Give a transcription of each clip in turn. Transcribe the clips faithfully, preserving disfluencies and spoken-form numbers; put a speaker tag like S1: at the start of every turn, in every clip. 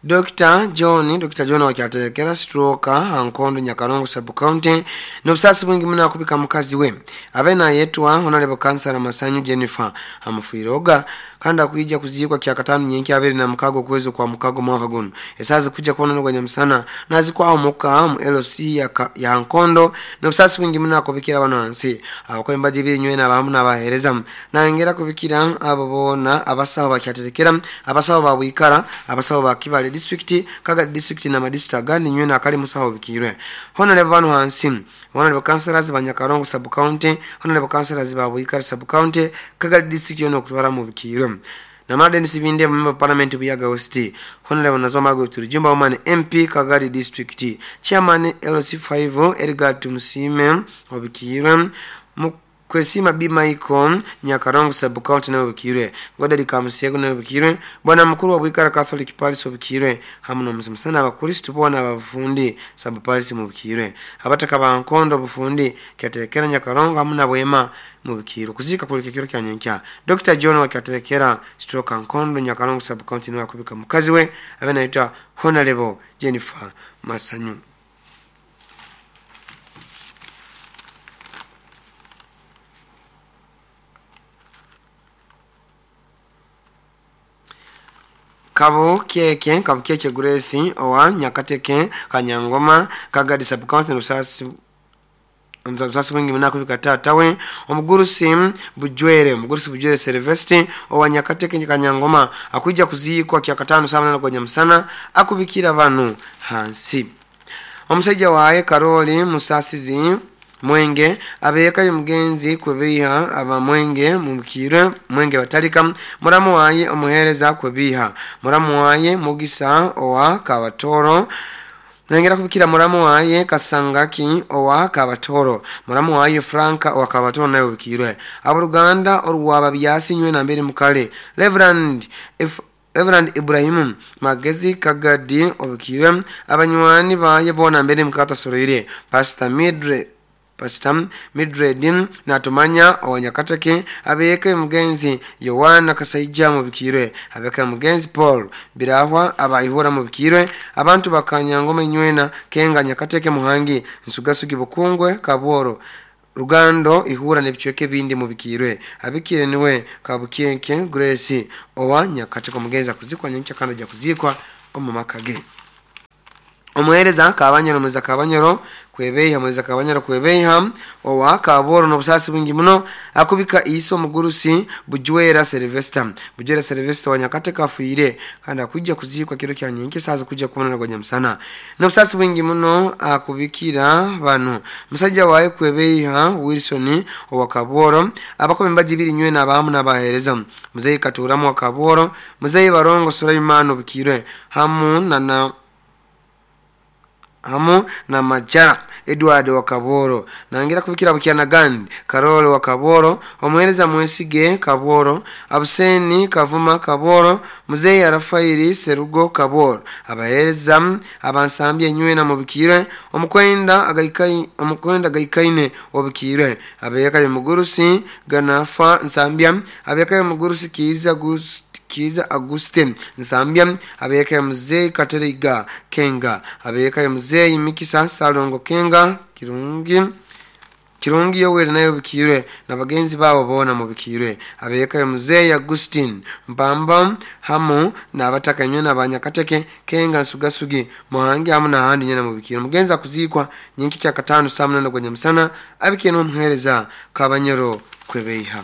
S1: Doctor John Doctor John wakyaterekera stroke Nkondo Nyakarongo sub county n'obusasi bwingi muno akubika mukazi we abe nayetwa Honorable Kansala Masanyu Jennifer amufiiroga kandi akuija kuziikwa kya katano nyenki abiri na mukago kwezo kwa mukago mwaka guno esazi kuja kuona ngwa nyamusana nazikwa muka mu L C ya, ya Nkondo n'obusasi bwingi muno akubikira bano hansi abakwemba jibiri nywe na bamu n'abahereza nangera kubikira abo bona abasawo bakyaterekera abasawo babwikara abasawo bakibale district kaga district na madistrict agandi nywe na kali musawo bikirwe Honorable bano hansi Honorable Councillors ba Nyakarongo sub county Honorable Councillors ba Bwikara sub county kaga district yono kutwara mu bikirwe na Madden Sibinde member of parliament Buyaga West Honorable Nazoma Goturujumba woman M P Kagari district chairman L C five Edgar Tumusime obikirwe Kwesima B Michael Nyakarongo sub county na obikirwe Godari Kamusego na obikirwe Bwana mkuru wa Bwikara Catholic Parish obikirwe hamu n'omusomusana abakristo bona abafundi sub parish mu bikirwe abataka ba Nkondo bufundi kyaterekera Nyakarongo hamu na Bwema mu bikirwe kuzika kulike kiro kya nyenkya Doctor John wakyaterekera stroke Nkondo Nyakarongo sub county na akubika mukazi we abe naitwa Honorable Jennifer Masanyu. Kabo keke kabo keke Grace owa Nyakateke Kanyangoma Kagadi sub county n'obusasi n'obusasi bwingi muno akubika taata we omugurusi Bujwere omugurusi Bujwere Sylvester owa Nyakateke Kanyangoma akuija kuziikwa kya katano saa munana gwa nyamusana akubikira bano hansi omusajja waye Karoli Musasizi Mwenge abeka mugenzi kwebiha aba Mwenge mumukire Mwenge batalika muramu waye omuhereza kwebiha muramu waye Mugisa owa Kabatoro nengera kubikira muramu waye Kasangaki owa Kabatoro muramu waye Franka owa Kabatoro nayo bikirwe aboluganda orwaba byasinywe na mbere mukale Reverend F Reverend Ibrahim Magezi Kagadi obikirwe abanywani baye bona mbere mukata soroire Pastor Midre Pastor Midredin natumanya owanyakateke abeke mugenzi Yohana Kasaija mubikirwe abeke mugenzi Paul Birahwa abayihura mubikirwe abantu bakanyangoma nywena kenga Nyakateke Muhangi Nsugasugi Bukungwe Kaboro Rugando ihura nebichweke bindi mubikirwe abikire niwe Kabukenke Grace owa Nyakateke mugenzi akuzikwa nyencha kando ja kuzikwa omumakage omuhereza Kabanyoro muza Kabanyoro kwebeha muza Kabanyoro kwebeha owa Kaboro n'obusasi bwingi muno akubika iso mugurusi Bujwera Sylvester Bujwera Sylvester wa Nyakateke afuire kandi akujja kuzikwa kiro kya nyenke saza kujja kubona gwa nyamusana n'obusasi bwingi muno akubikira bano musajja waye kwebeha Wilson owa Kaboro abakombe mbajibiri nywe nabamu nabahereza muzeyi Katuramu wa Kaboro muzeyi Barongo Sulaimano bikirwe hamu na na hamu na Majara Edward wa Kaboro nangira kubikira bukyana gandi Karolo wa Kaboro omuhereza Mwesige Kaboro Abuseni Kavuma Kaboro Muzeyi Rafaeli Serugo Kaboro abahereza abansambye nywe na mubikire omukwenda agaikai omukwenda gaikaine obikire abeyaka mugurusi Ganafa Nsambya abeyaka mugurusi Kiza Gus Kiza Augustin Nsambya abeka mzee Kateriga Kenga abeka mzee Mikisa Salongo Kenga Kirungi Kirungi Yoweri nayo bikirwe na bagenzi babo bona mu bikirwe abeka mzee Augustin Mbamba hamu na abatakanywe na banyakateke Kenga Nsugasugi Muhangi hamu na handi nyana mu bikirwe mugenza kuzikwa nyinki kya katano saa munana gwa nyamusana abikiye n'umuhereza Kabanyoro kwebeha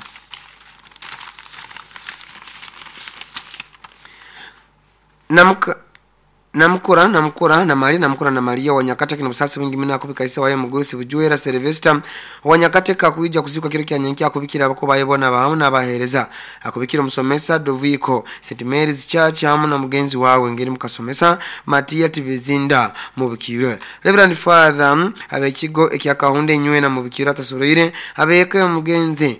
S1: Namuka namukura namukura na mali namukura na Maria wa Nyakateke n'obusasi bwingi muno akubika ise waye mugurusi Bujwera Sylvester wa Nyakateke akuija kuzikwa kiro kya nyenki akubikira abako bayebona bahamu n'abahereza akubikira omusomesa Doviko Saint Mary's Church hamu na mugenzi wawe ngeri mukasomesa Matia Tibizinda mubikirwe Reverend Father abekigo ekyakahunde nywe na mubikira atasoroire abeke mugenzi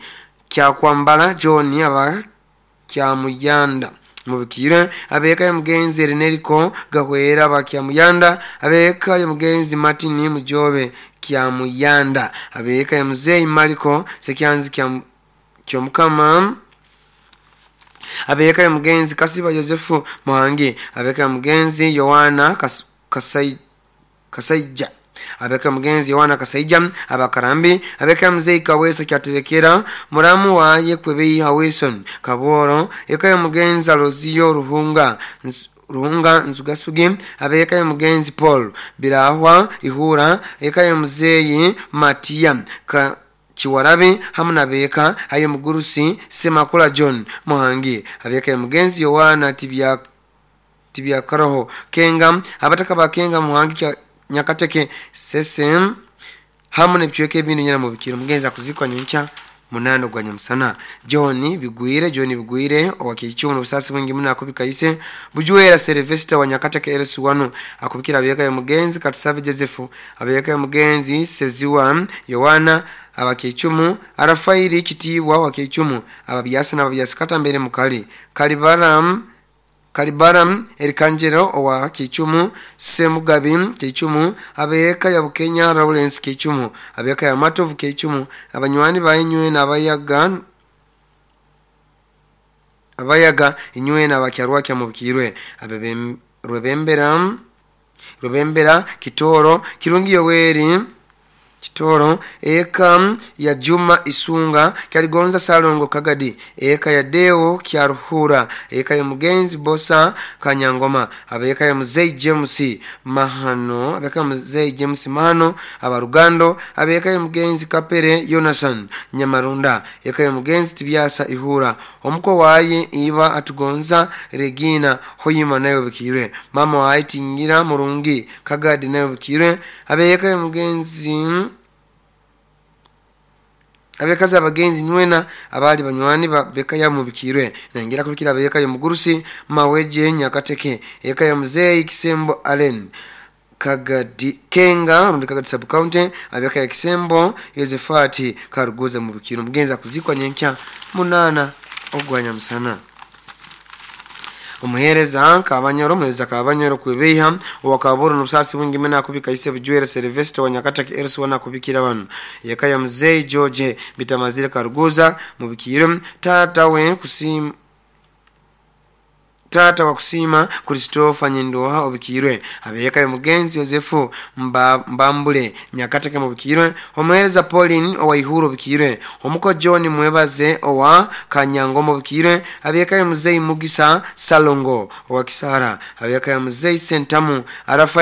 S1: kyakwambala John aba kyamuyanda mubikire abeka mugenzi Reneriko Gahwera bakyamuyanda abeka mugenzi Martin Mujobe kyamuyanda abeka muzeyi Mariko Sekyanzi kya kyomukama Abeka ya mugenzi Kasiba Yosefu Muhangi, abeka ya mugenzi Yohana Kas, Kasai, Kasaija, abeka mugenzi Yohana Kasaija abakarambi, abeka mzee Kawesa kyaterekera muramu waye kwebei Wilson Kaboro, eka ya mugenzi Alozio Ruhunga Ruhunga Nzugasugi, abeka ya mugenzi Paul Birahwa Ihura, eka ya mzee Matia ka Chiwarabi hamu na beka ayo mugurusi Semakula John Muhangi, abeka ya mugenzi Yohana Tibya Tibya Karoho Kenga, abataka ba Kenga Muhangi kya Nyakateke sesem hamu nebichweke ebintu nyana mubikiro. Mugenzi akuzikwa nyenkya munano gwa nyamusana. John Bigwire John Bigwire owakichumu n'obusasi bwingi muno akubika ise Bujuwera Sylvester wa Nyakateke L S one akubikira abeka ya mugenzi Katusabe Joseph, abeka ya mugenzi Seziwa Yohana abakichumu, Arafairi Kitiwa wakichumu, ababyasa n'ababyasa kata mbere mukali Kalibaram Kalibaram Erikanjero owa Kichumu, Semugabi Kichumu, abeka ya Bukenya Lawrence Kichumu, abeka ya Matovu Kichumu, abanywani bayinywe n'abayaga abayaga inywe n'abakyarwa kya mubikirwe, abebe Rwebembera Rwebembera Kitoro Kirungi Yoweri Kitoro, eka ya Juma Isunga Kyaligonza Salongo Kagadi, eka ya Deo Kyaruhura, eka ya mugenzi Bosa Kanyangoma, abeka ya Mzee James Mahano, abeka ya Mzee James Mahano abarugando, abeka ya mugenzi Kapere Jonathan Nyamarunda, eka ya mugenzi Tibyasa Ihura, omuko waye Iba Atugonza Regina Hoyima nayo bikirwe, mama waye Tingira Murungi Kagadi nayo bikirwe, abeka ya mugenzi abekazi abagenzi nywena abali banywani beka ya mubikirwe nangira kubikira abeka ya mugurusi Maweje Nyakateke, eka ya Mzee Kisembo Allen Kagadi Kenga rundi Kagadi sub county, abeka ya Kisembo Yosefati Karuguza mubikiro. Mugenzi akuzikwa nyenkya munana ogwanya musana. Omuhereza Kabanyoro omuhereza Kabanyoro kwebeha owakaboro n'obusasi bwingi mena akubika ise Bujuwera Sylvester wa Nyakateke L S one akubikira bano yeka ya Mzee George Bitamazire Karuguza mubikiro, tata we kusim tata wa kusima Christopher Nyendoha obikirwe, abeka ya mugenzi Yosefu mba, Mbambule Nyakateke mubikirwe, omuhereza Pauline owa Ihuro obikirwe, omuko John Mwebaze owa Kanyangomo obikirwe, abeka ya Mzee Mugisa Salongo owa Kisara, abeka ya Mzee Sentamu Arafa